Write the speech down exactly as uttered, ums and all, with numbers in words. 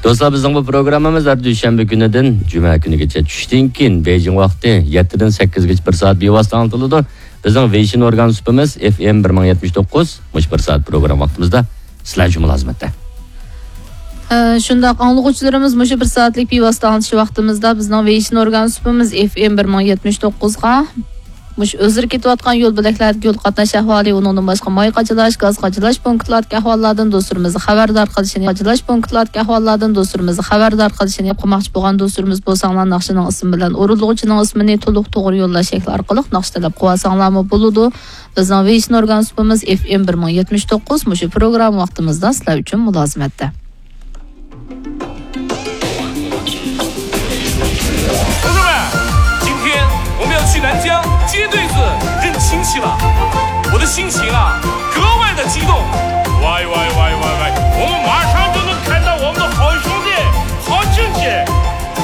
دوستلار، بىزنىڭ بۇ پروگراممىمىز ھەر دۈشەنبە كۈنىدىن جۈمە كۈنىگىچە چۈشتىن كېيىن بېيجىڭ ۋاقتى يەتتىدىن سەككىزگىچە بىر سائەت بىۋاسىتە ئاڭلىتىلىدۇ. بىزنىڭ ۋېيشىن ئورگان سۇپىمىز ئېف ئېم بىر مىڭ يەتمىش توققۇز، مۇشۇ بىر سائەت پروگرامما ۋاقتىمىزدا سىلەر ئۈچۈن مۇلازىمەتتە. ئە، شۇنداق، ئاڭلىغۇچىلىرىمىز مۇشۇ بىر سائەتلىك بىۋاسىتە ئاڭلىتىش ۋاقتىمىزدا بىزنىڭ ۋېيشىن ئورگان سۇپىمىز ئېف ئېم بىر مىڭ يەتمىش توققۇزغا مۇشۇ ئۆزلىرى كېتىۋاتقان يول بۆلەكلەردىكى يول قاتناش ئەھۋالى، ئۇنىڭدىن باشقا ماي قاچىلاش، گاز قاچىلاش پونكىتلاردىكى ئەھۋاللاردىن دوستلىرىمىزنى خەۋەردار قىلىشىنى، قاچىلاش پونكىتلاردىكى ئەھۋاللاردىن دوستلىرىمىزنى خەۋەردار قىلىشىنى قىلماقچى بولغان دوستلىرىمىز بولساڭلار، ناخشىنىڭ ئىسمى بىلەن ئورۇنلىغۇچىنىڭ ئىسمىنى تولۇق توغرا يوللاش شەكلى ئارقىلىق ناخشا تەلەپ قىلىۋالساڭلارمۇ بولىدۇ. بىزنىڭ ۋېيشىن ئورگان سۇپىمىز ئېف ئېم بىر مىڭ يەتمىش توققۇز، مۇشۇ پروگرامما ۋاقتىمىزدا سىلەر ئۈچۈن مۇلازىمەتتە. 同志们，今天我们要去南疆接队子认亲戚了，我的心情啊，格外的激动。喂喂喂喂